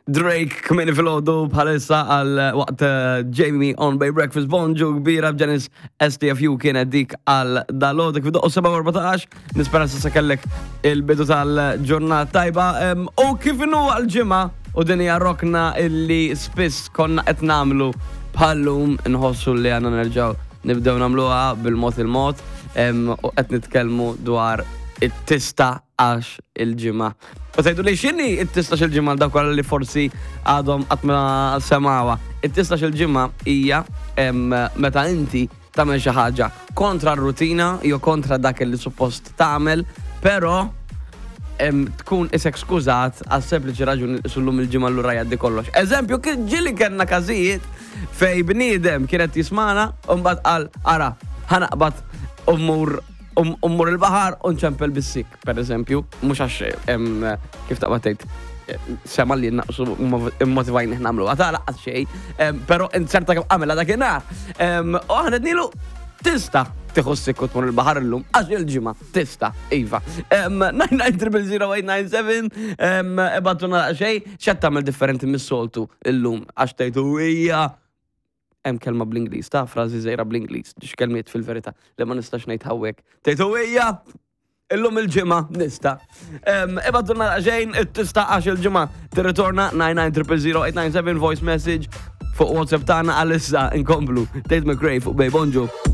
Drake kmini fil-ħodu bħalissa għal waqt eh, Jamie on Bay Breakfast Bonġu kbira b'Ġenis STFU kienet dik għal dal-ħodu kif doqqu 7:14 nispera s'issa kellek il-bidu tal-ġurnata tajba u kif inhu għal-ġimgħa u din hija rokna illi spiss konna qed nagħmlu bħallum nħossu li għandna nerġgħu nibdew nagħmluha bil-mod il-mod u qed nitkellmu dwar it-tista għax il-ġimgħa. U tgħidu li x'inhi it-tistax il-ġimgħa dawk kollha li forsi għadhom qatt ma semgħuha. It-tistax il-ġimgħa hija meta inti tagħmel xi ħaġa kontra r-rutina jew kontra dak li suppost tagħmel, però tkun isek skużat għal sempliċi raġuni li sullum il-ġimgħa lura jgħaddi kollox. Eżempju, ġieli kellna każijiet fej bniedem kienet jismana u mbagħad qal ara ħanaqbad u mmur u mmur il-baħar u nċempel bis-sik. Per eżempju, mhux għax kif taqbad tgħid sema li naqsu immotivajni nagħmlu għata laqqas xejn, però inserta kemm għamela dakinhar. U aħna dnilu tista' tieħu s-sikku tmur il-baħar illum għax il-ġimgħa tista' iva. 9900897 ibattuna xejn x'qed tagħmel differenti mis-soltu illum għax tgħidu hija hemm kelma bl-Ingliż, ta' frażi żgħira bl-Ingliż, x'kelmiet fil-verità li ma nistax ngħid hawnhekk. Tgħidu hija Illum il-ġimgħa nista. Ibadulna xejn tista' għax il-ġimgħa tirritorna 9900897 voice message fuq WhatsApp tagħna għalissa nkomplu. Tate McRae fuq Bay Bonġu.